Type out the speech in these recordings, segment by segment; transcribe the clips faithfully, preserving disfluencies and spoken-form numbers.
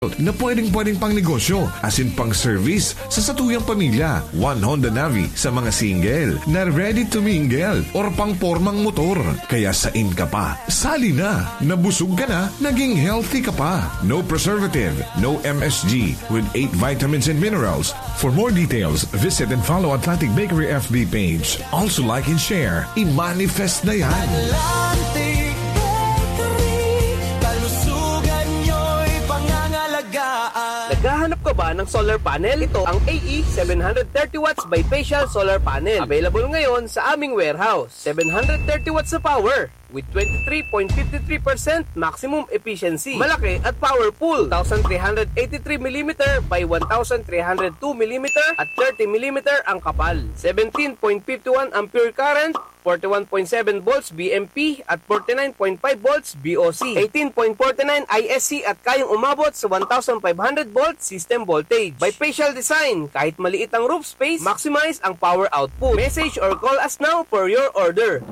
na pwedeng-pwedeng pang negosyo, asin pang service sa satuyang pamilya. One Honda Navi sa mga single na ready to mingle or pang pormang motor. Kaya sain ka pa? Sali na! Nabusog ka na, naging healthy ka pa. No preservative, no M S G, with eight vitamins and minerals. For more details, visit and follow Atlantic Bakery F B page. Also like and share. I-manifest na yan. Atlantic Bakery, kalusugan nyo'y pangangalagaan. Naghahanap ka ba ng solar panel? Ito ang A E seven hundred thirty watts bifacial solar panel. Available ngayon sa aming warehouse. Seven hundred thirty watts na power with twenty-three point five three percent maximum efficiency. Malaki at powerful. Two thousand three hundred eighty-three millimeter by one thousand three hundred two millimeter at thirty millimeter ang kapal. Seventeen point five one ampere current, forty-one point seven volts B M P at forty-nine point five volts B O C, eighteen point forty-nine I S C at kayang umabot sa one thousand five hundred volt system voltage. Bifacial design, kahit maliit ang roof space, maximize ang power output. Message or call us now for your order.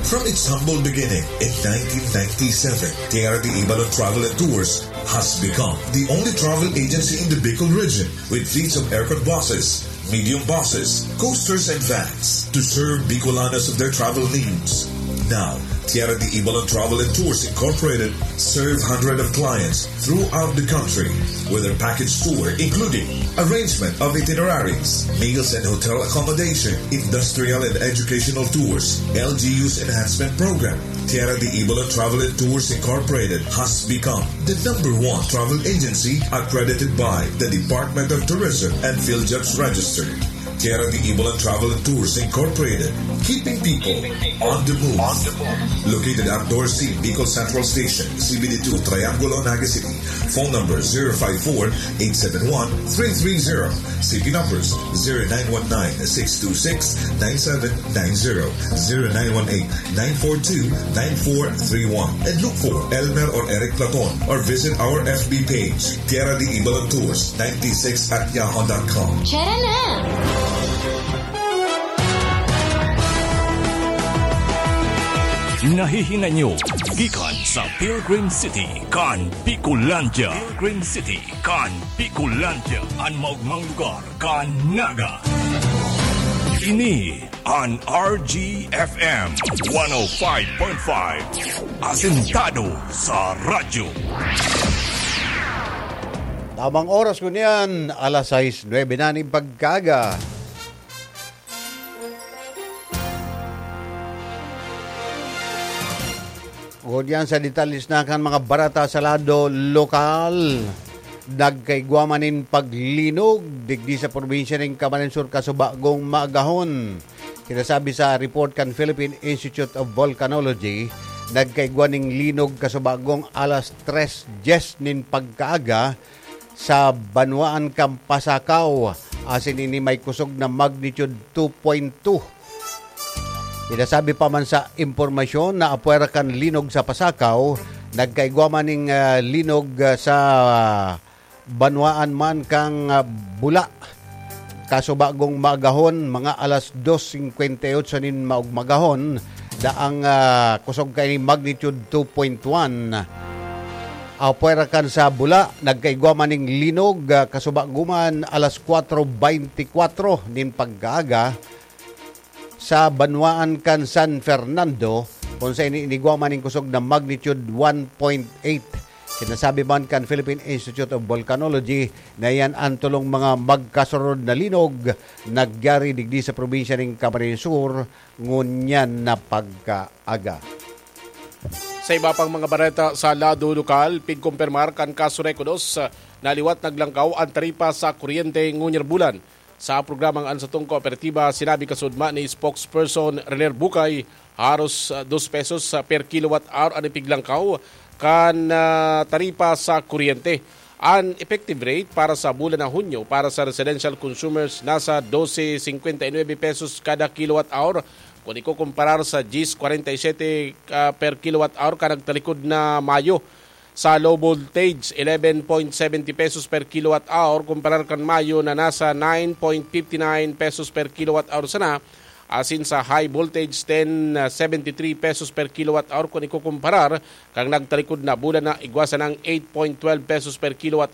From its humble beginning in nineteen ninety-seven, Tierra de Ibalon Travel and Tours has become the only travel agency in the Bicol region with fleets of aircon buses, medium buses, coasters, and vans to serve Bicolanos of their travel needs. Now, Tierra de Ibalon Travel and Tours Incorporated serve hundreds of clients throughout the country with their package tour, including arrangement of itineraries, meals and hotel accommodation, industrial and educational tours, L G U's enhancement program. Tierra de Ibalon Travel and Tours Incorporated has become the number one travel agency accredited by the Department of Tourism and PhilJobs Register. Tierra de Ibalon Travel and Tours Incorporated, keeping people on the move. Located at Dorsey, Bicol Central Station, C B D two, Triangulo, Naga City. Phone number zero five four, eight seven one, three three zero. C P numbers zero nine one nine, six two six, nine seven nine zero, zero nine one eight, nine four two, nine four three one. And look for Elmer or Eric Platon or visit our F B page, Tierra de Ibalon Tours ninety-six at yahoo dot com. Tara na! Nahihinay nyo gikan sa Pilgrim City kan Bicolandia. Pilgrim City kan Bicolandia, an maogmang lugar kan Naga. Ini an R G F M one oh five point five, asentado sa radyo. Tamang oras ko niyan, alas sais nuebe na nin pagkaaga. Ngunyan sa detalles na kan mga bareta sa lado lokal, nagkaigwa man nin paglinog digdi sa probinsya nin Camarines Sur kasubagong maagahon. Sinasabi sa report kan Philippine Institute of Volcanology, nagkaigwa nin linog kasubagong alas tres dyes nin pagkaaga sa banwaan kan Pasacao, asin ini may kusog na magnitude two point two. Pinasabi pa man sa impormasyon na apwera kan linog sa Pasacao, nagkaigwa man ning, ah, linog, ah, sa banwaan man kan, ah, Bula. Kasubagong maagahon, mga alas dos singkwenta y otso nin maugmagahon, daang, ah, kusog kaini magnitude two point one. Apwera kan sa Bula, nagkaigwa man ning linog, ah, kasubagong man alas kwatro beintikwatro nin pagkaaga sa banwaan kan San Fernando, kung sa ini inigwa man ning kusog na magnitude one point eight. Sinasabi man kan Philippine Institute of Volcanology na iyan an tolong mga magkasunod na linog nagyari digdi sa probinsya nin Camarines Sur ngunyan na pagkaaga. Sa iba pang mga bareta sa lado lokal, pigkumpirmar kan Kaso Rekodos na liwat naglangkaw an taripa sa kuryente ngunyan bulan. Sa programang An Satong Kooperatiba, sinabi kasudma ni Spokesperson Renier Bucay, haros, ah, dos pesos, ah, per kilowatt hour an ipiglangkaw kan, ah, taripa sa kuryente. An effective rate para sa bulan na Hunyo para sa residential consumers nasa dose singkwenta y nuebe pesos kada kilowatt hour, kun ikukumparar sa diyes kwarenta y siyete, ah, per kilowatt hour kan nagtalikod na Mayo. Sa low voltage, eleven point seventy pesos per kilowatt hour, kumparar kan Mayo na nasa nine point fifty nine pesos per kilowatt hour sana, asin sa high voltage, ten seventy three pesos per kilowatt hour kun ikukumparar kan nagtalikod na bulan na igwa sanang eight point twelve pesos per kilowatt